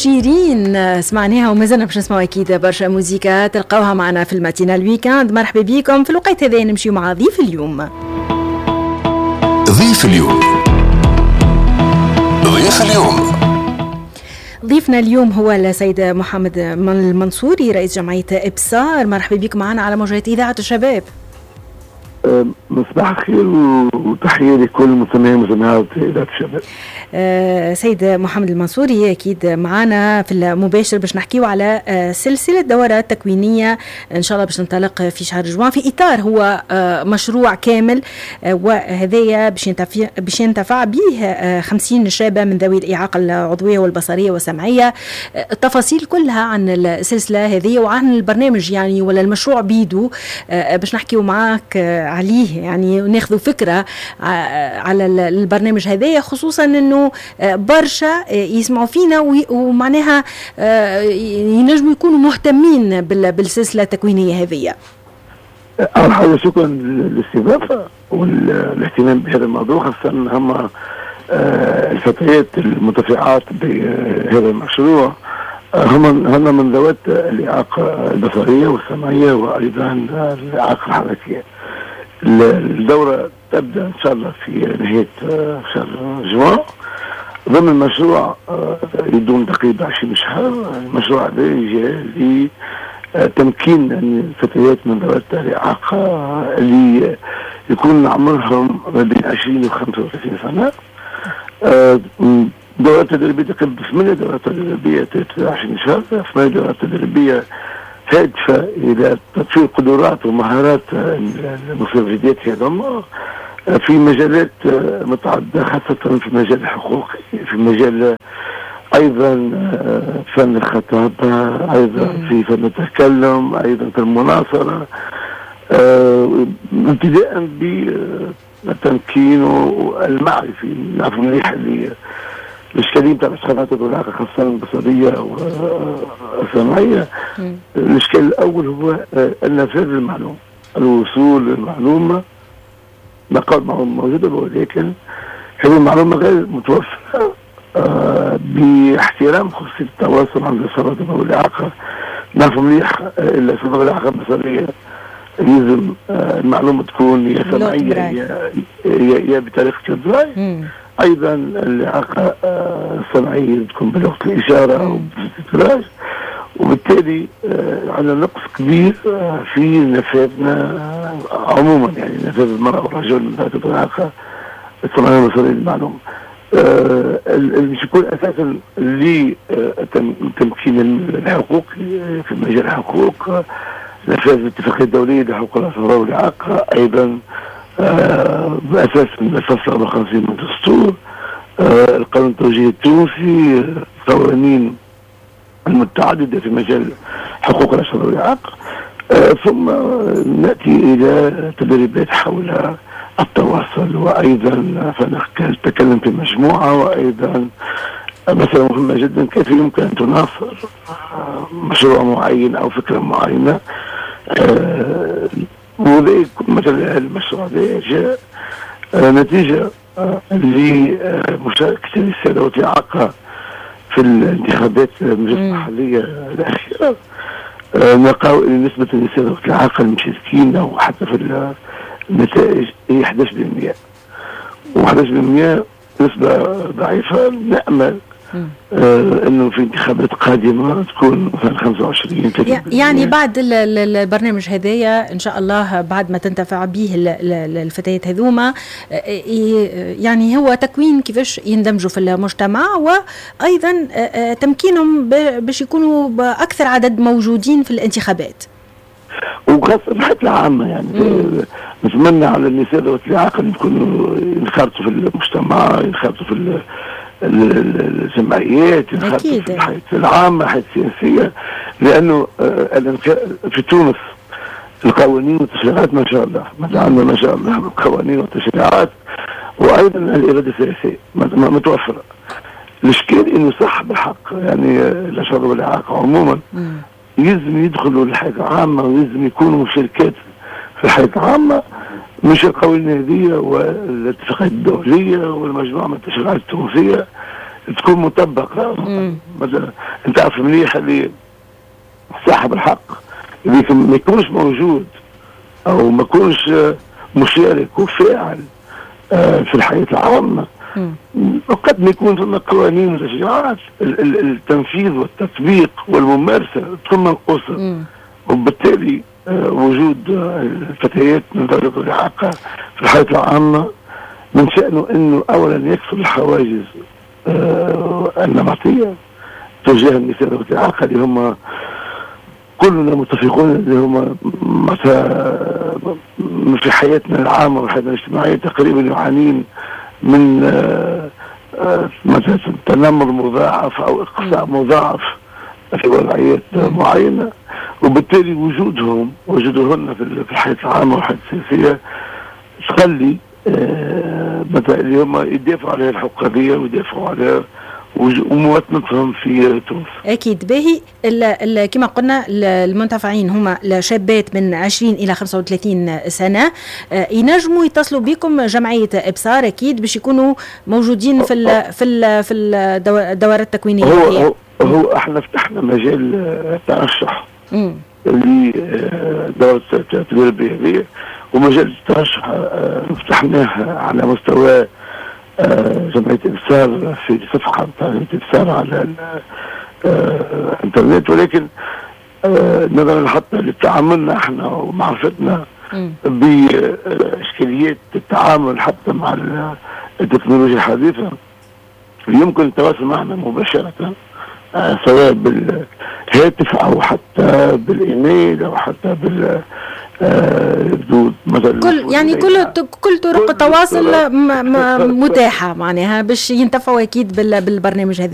شيرين سمعناها ومازلنا باش نسمعوا اكيد برشا موزيكا تلقاوها معنا في ال matinale week-end. مرحبا بكم في الوقت هذا، نمشيو مع ضيف اليوم. ضيف اليوم، ضيف اليوم. ضيفنا اليوم هو السيد محمد المنصوري، رئيس جمعية إبصار. مرحبا بك معنا على موجات إذاعة الشباب. مصباح الخير وتحية لكل مستمعين ومستمعات إذاعة الشباب. سيد محمد المنصوري أكيد معنا في المباشر باش نحكيو على سلسلة دورات تكوينية إن شاء الله باش تنطلق في شهر جوان، في إطار هو مشروع كامل، وهذايا باش ينتفع به 50 شابة من ذوي الإعاقة العضوية والبصرية والسمعية. التفاصيل كلها عن السلسلة هذه وعن البرنامج يعني ولا المشروع بيدو باش نحكيو معاك عليه، يعني وناخذوا فكرة على البرنامج هذايا، خصوصا انه برشا يسمعوا فينا ومعناها ينجموا يكونوا مهتمين بالسلسلة التكوينية هذه. أول حاجة شكرا للاستضافة والاهتمام بهذا الموضوع، خاصة هم الفتيات المنتفعات بهذا المشروع هم من ذوات الإعاقة البصرية والسمعية وأيضا الإعاقة الحركية. الدورة تبدأ إن شاء الله في نهاية شهر جوان ضمن المشروع يدوم تقريبا 20 شهر. المشروع هذا جاء لتمكين الفتيات من ذوات الإعاقة اللي يكون عمرهم ما بين 20 و 35 سنة. دورات تدريبية تقريبا 8 دورات تدريبية 20 شهر، 8 دورات تدريبية هادفة إلى تطوير قدرات ومهارات المستفيدات هذوما في مجالات متعددة، خاصة في مجال الحقوق، في مجال أيضا فن الخطابة، أيضا في فن التكلم، أيضا في المناصرة، ابتداء بالتمكين والمعرفي. نعرف مليح اللي الإشكالية نتاع الأشخاص ذوي الإعاقة خاصة البصرية والسمعية، الإشكال الأول هو النفاذ للمعلومة، الوصول للمعلومة. نقاط موجودة ولكن هذه المعلومة غير متوفرة باحترام خصوصية التواصل عند الأشخاص ذوي الإعاقة. نعرف مليح الأشخاص ذوي الإعاقة البصرية لازم المعلومة تكون يا سمعية يا بطريقة البراي. ايضا الاعاقة السمعية تكون بلغه الاشارة او بالتراج، وبالتالي عندنا نقص كبير في نفاذنا عموما، يعني نفاذ المراة والرجل من ذات الاعاقة السمعية والبصريه للمعلومة. اللي يكون اساسا لتمكين الحقوق في مجال الحقوق، نفاذ الاتفاقية الدولية لحقوق الاشخاص ذوي الاعاقة، ايضا بأساس الفصل 54 من الدستور، القانون التوجيهي التونسي، القوانين المتعددة في مجال حقوق الأشخاص ذوي الإعاقة. ثم نأتي إلى تدريبات حول التواصل، وأيضا التكلم في مجموعة، وأيضا مسألة مهمة جدا كيف يمكن أن تناصر مشروع معين أو فكرة معينة. وذلك مثلا المشروع هذا جاء نتيجة لمشاركة النساء ذوات الإعاقة في الانتخابات المجلس المحلية الأخيرة. نلقاو أن نسبة النساء ذوات الإعاقة المشاركين أو حتى في النتائج هي 11%، و11% نسبة ضعيفة. نأمل انه في انتخابات قادمة تكون مثلا 25. يعني بعد البرنامج هذايا ان شاء الله بعد ما تنتفع به الفتيات هذوما، يعني هو تكوين كيفاش يندمجوا في المجتمع، وايضا تمكينهم باش يكونوا باكثر عدد موجودين في الانتخابات، وخاصة في الحياة العامة. يعني نتمنى على النساء ذوات الاعاقة ان يكونوا ينخرطوا في المجتمع، ينخرطوا في الجمعيات، ينخرطوا في الحياة العامة، الحياة السياسية، لأنه في تونس القوانين والتشريعات ما شاء الله، عندنا ما شاء الله القوانين والتشريعات، وأيضا الإرادة السياسية متوفرة. الإشكال إنه صح بالحق يعني الأشخاص ذوي الإعاقة عموما يلزم يدخلوا للحياة العامة ويلزم يكونوا مشاركات في الحياة العامة، مش القوانين هذه والاتفاقات الدولية والمجموعة من التشريعات التونسية تكون مطبقه. مثلا انت عارف مليح اللي صاحب الحق اللي ما يكونش موجود او ما يكونش مشارك وفاعل في الحياة العامه، وقد ما يكون ثم قوانين وتشريعات، التنفيذ والتطبيق والممارسة تكون منقوصه. وبالتالي وجود الفتيات من ذوي الاعاقة في الحياة العامة من شأنه انه اولا يكسر الحواجز النمطية تجاه النساء ذوي الاعاقة، اللي هم كلنا متفقون اللي هم مثلا في حياتنا العامة وحياتنا الاجتماعية تقريبا يعانين من مثلا تنمر مضاعف او اقصاء مضاعف في وضعيات معينه. وبالتالي وجودهم وجودهن في الحياة العامة والحياة السياسية تخلي مثلا اللي هم يدافعوا على الحقوقية ويدافعوا على ومواطنتهم في تونس. اكيد. باهي، كما قلنا المنتفعين هما الشابات من 20 الى 35 سنه، ينجموا يتصلوا بكم جمعية ابصار اكيد باش يكونوا موجودين في الدورات التكوينيه. هو احنا فتحنا مجال الترشح لدورة التدريبية هذه، ومجال الترشح فتحناه على مستوى جمعية إبصار في صفحة بتاع جمعية إبصار على الإنترنت، ولكن نظرا حتى لتعاملنا احنا ومعرفتنا بإشكاليات التعامل حتى مع التكنولوجيا الحديثة، يمكن التواصل معنا مباشرة سواء بالهاتف او حتى بالايميل او حتى بال مثلا كل يعني كل طرق التواصل متاحة معناها باش ينتفعوا اكيد بالبرنامج هذا.